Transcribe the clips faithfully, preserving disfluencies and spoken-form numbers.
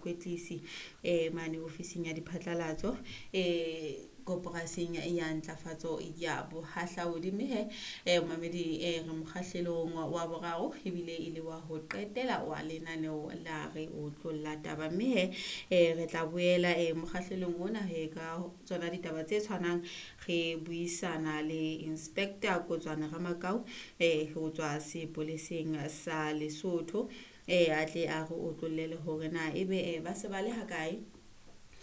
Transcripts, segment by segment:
Kwetlisi eh mane ofising ya diphatlalatso eh koporasing ya ntlafatso ya bohahlaudi. Mme he eh momamedi, eh re mokgahlelong wa boraro ebile e le wa ho qetela wa lenaneo la Re Otlolla Taba. Mme he eh re tla boela eh mokgahlelong ona he ka tsona ditaba tse tshwanang, re buisana le Inspector Kotswana Ramakau eh ho tswa sepoleseng sa Lesotho, eh a tle a re otlollele hore na ebe eh ba se ba le hakae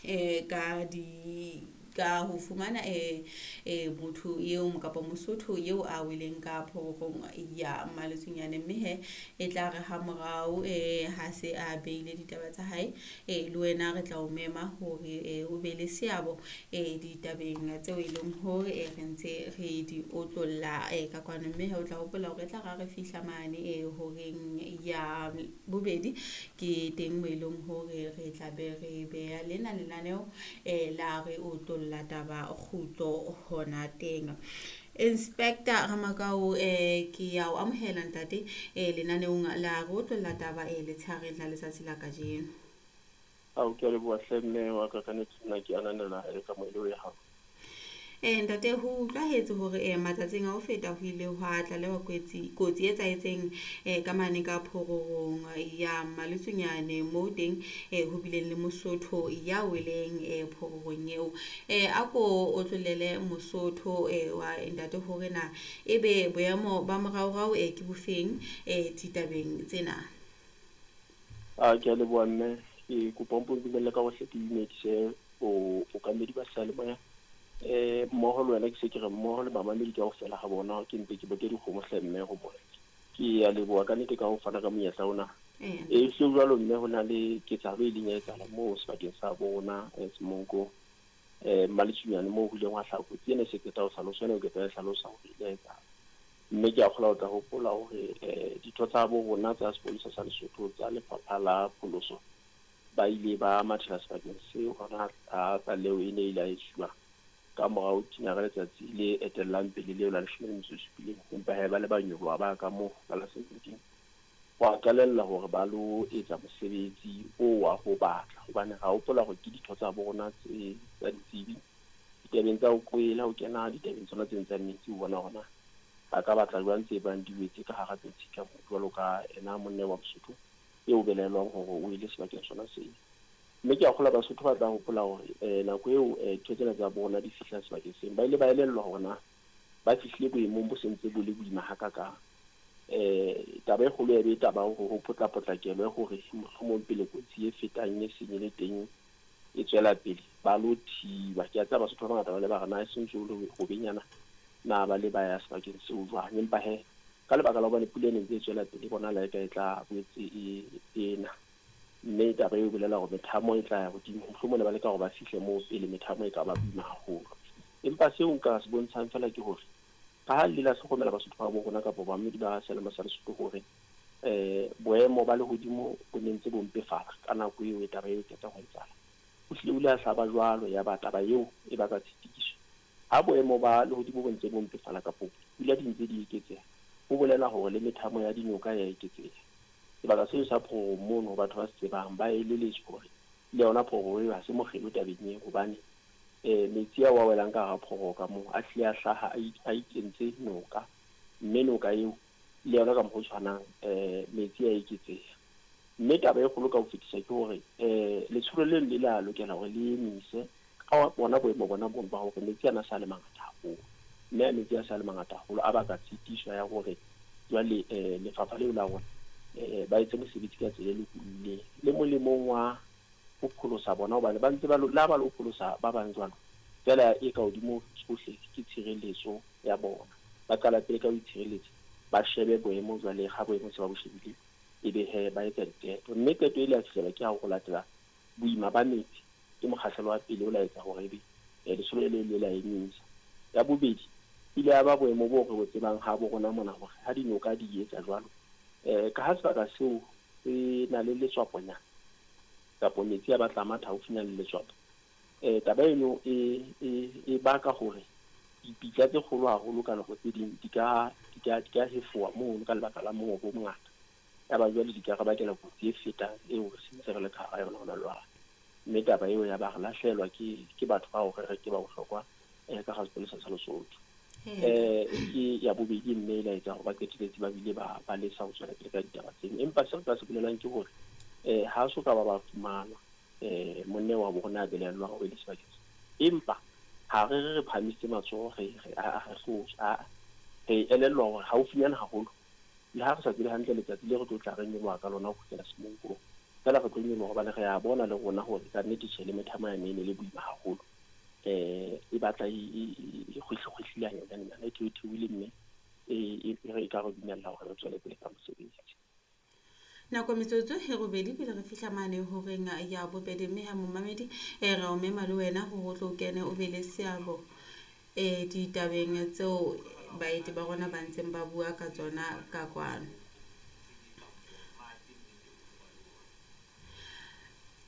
eh ka di ka ho fumana eh eh motho eo kapa Mosotho eo a weleng ka phororong ya Maletsunyane. Mme he e tla re ha morao eh ha se a beile ditaba tsa hae, eh le wena re tla o mema hore eh o be le seabo eh ditabeng tseo e leng hore eh re ntse re di otlolla eh ka kwano. Mme he o tla hopola hore e tla ra re fihla mane eh horeng ya bobedi, ke teng mo e leng hore re tla be re beha lena lenaneo eh la Re Otlolla Taba kgutlo hona teng. Inspector Ramakau, eh ke ya o amohela ntate eh lenaneong la Re Otlolla Taba eh letshareng la letsatsi la kajeno. Ao, ke a leboha hle mme wa ka, ka nnete nna ke ananela e kamohelo ya hao. Eh ntate, ho utlwahetse hore eh matsatsing a ho feta ho ile hwa tlalewa kotsi kotsi e etsahetseng eh ka mane ka phororong ya Maletsunyane, moo teng eh ho bileng le Mosotho ya weleng eh phororong eo. Eh a ko otlollele Mosotho eh wa ntate hore na ebe boemo ba moraorao eh ke bofeng eh ditabeng tsena. A ke a leboha mme, ke kopa o mpo ntumelle ka hohle ke dumedise bookamedi ba seyalemoya eh mmoho le wena, ke se ke re mmoho le bamamedi kaofela ha bona, ke mpe ke boke dikgomo hle mme ho bona. Ke a leboha ka nnete ka ho fana ka monyetla ona. Eh E hlile jwalo mme, ho na le ketsahalo e ileng ya etsahala moo sebakeng sa bo rona Semonko eh Maletsunyane, moo ho ileng hwa hlaha kotsi ena e se qeta ho hlalosa, ena o qeta ho e hlalosa hore ile ya etsahala. Mme ke a kgolwa o tla hopola hore eh ditho tsa bo rona tsa sepolesa sa Lesotho tsa lefapha la pholoso ba ile ba mathela sebakeng seo hona ha tlaleho e ne ile ya etsuwa ka morao tina ka letsatsi le etellang pele leo la leshome le metso e supileng. Empa he ba le ba nyoloha ba ka moo ka la seventeen, wa qalella hore ba lo etsa mosebetsi o wa ho batla, hobane ra hopola hore ke ditho tsa bo rona tse tsa ditsebi ditabeng tsa ho kwela, ho kena ditabeng tsona tse tsa metsi, ho bona hore na ba ka batla jwang tse bang di wetse ka hara metsi ka moo, jwalo ka ena monna wa Mosotho eo belaelwang hore o ile sebakeng sona seo. Mme ke a kgolwa Basotho ba tla hopola hore eh nako eo eh ditho tsena tsa bona di fihla sebakeng seo, ba ile ba elellwa hore na ba fihlile boemong bo sentse bo le boima hakakang. Eh taba e kgolo ya be taba hore ho potla-potlakelwe hore mohlomong pele kotsi e fetang e seng e le teng e tswela pele ba lo thiba. Ke a tseba Basotho ba bangata ba le ba re na e sentse ho le hobenyana na ba le ba ya sebakeng seo jwang, empa he ka lebaka la hobane pula e ne ntse e tswela pele, bonahala eka e tla boetse e ena, mme taba eo e bolela hore methamo e tla ya hodimo, mohlomong ne ba leka hore ba fihle moo pele methamo e ka ba boima haholo. Empa seo nka se bontshang fela ke hore ka ha le la hlokomela Basotho ba bo rona kapa bamamedi ba seyalemoya sa Lesotho hore eh boemo ba lehodimo bo ne ntse bo mpefala ka nako eo e taba eo e qeta ho etsahala. Ho hlile o ile a hlaba jwalo, ya ba taba eo e baka tshitiso. Ha boemo ba lehodimo bo ntse bo mpefala kapo pula di ntse di eketseha, ho bolela hore le methamo ya dinoka ya eketseha. Sebaka seo sa phororong mono, batho ba se tsebang ba eleletswe hore le yona phororo eo ha se mokgelo tabeng eo, hobane eh metsi ao a welang ka hara phororo ka moo a hlile a hlaha a ikentse noka, mme noka eo le yona ka mokgwa o tshwanang eh metsi a eketseha. Mme taba e kgolo ka ho fetisa ke hore eh letsholo leno le la lokela hore le emise ka bona boemo bona bono ba hore metsi ana a sa le mangata haholo, mme a metsi a sa le mangata haholo a baka tshitiso ya hore jwale eh lefapha leo la rona eh ba etse mosebetsi ka tsela e lokolohileng le molemong wa ho pholosa bona, hobane ba ntse ba lo la ba lo pholosa ba bang jwalo feela e ka hodimo tsohle ke tshireletso ya bona. Ba qala pele ka ho itshireletsa, ba shebe boemo jwale ha boemo se ba bo shebile, ebe he ba etsa diqeto. Mme qeto e ile ya fihlela ke ha ho latela boima ba metsi ke mokgahlelo wa pele o la etsa hore ebe letsholo le le la emisa. Ya bobedi ile ya ba boemo bo re bo tsebang ha bo rona mona hore ha dinoka di etsa jwalo eh ka ha sebaka seo se na le letswaponyana kapa metsi a batla matha haufinyana le letswapo, eh taba eno e e e baka hore dipitsa tse kgolo haholo ka nako tse ding di ka di ka di ka hefoha mono ka lebaka la mongobo o mongata. Ya ba jwale di ka re bakela kotsi e fetang eo re sentse re le ka hara yona hona jwale. Mme taba eo ya ba re lahlehelwa ke ke batho bao re re ke ba bohlokwa eh ka hara sepolesa sa Lesotho. Eh ke ya bobedi mme e la etsa hore ba qetelletse ba bile ba ba lesa ho tswela pele ka ditaba tseno. Empa seo re ka se bolelang ke hore eh ha so ka ba ba fumana eh monna wa bo rona a belaellwang hore e le sebakeng. Empa ha re re re phahamisitse matsoho re re a re a re elellwa hore haufinyana haholo le ha re sa tsebe hantle letsatsi le re tlo tla re nyoloha ka lona ho kgutlela Semonkong. Feela re tlo nyoloha hobane re a bona le rona hore ka nnete tjhe le methamo yane e ne le boima haholo. Eh e batla e kgwehlekgwehlile hanyenyane e theotheohile mme e e ka re dumella hore re tswele pele ka mosebetsi. Nako metsotso e robedi pele re fihla mane horeng ya bobedi, mme ha momamedi e re o mema le wena hore o tlo kene o be le seabo eh ditabeng tseo baeti ba rona ba ntseng ba bua ka tsona ka kwano.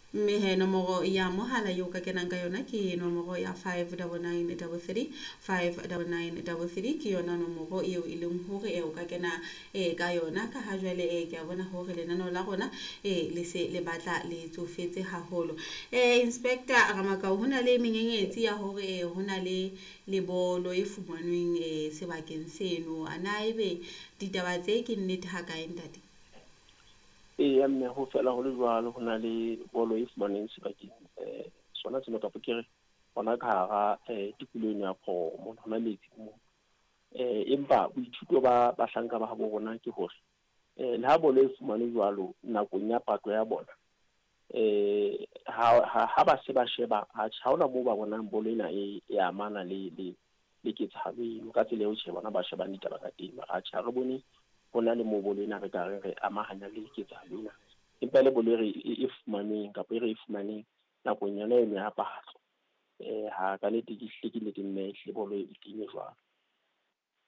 Mme he nomoro ya mohala eo ka kenang ka yona ke nomoro ya five double nine double three, five double nine double three ke yona nomoro eo e leng hore e o ka kena e ka yona. Ka ha jwale e ke a bona hore lenaneo la rona e le se le batla le tsofetse haholo. Eh Inspector Ramakau, ho na le menyenyetsi ya hore e ho na le lebolo e fumanweng e sebakeng seno. Ana ebe ditaba tse ke nnete ha kae ntate? Eya mme ho fela ho le jwalo, ho na le bolo e fumaneng sebakeng eh sona seno kapa ke re hona ka hara eh tikoloho eno ya Phomo, hona metsi moo. Eh empa boithuto ba bahlanka ba habo rona ke hore eh le ha bolo e fumanwe jwalo nakong ya patlo ya bona eh ha ha ba se ba sheba ha hona moo ba bonang bolo ena e e amana le le le ketsahalo eno ka tsela eo tjhe bona ba shebang ditaba ka teng. Mara atjhe ha re bone ho na le moo bolo ena re ka re re amahanya le ketsahalo ena, empa le bolo e re e fumaneng kapa e re e fumaneng nakong yona eno ya patlo eh ha ka nnete ke hlile ke nnete mme ehlile bolo e teng e jwalo.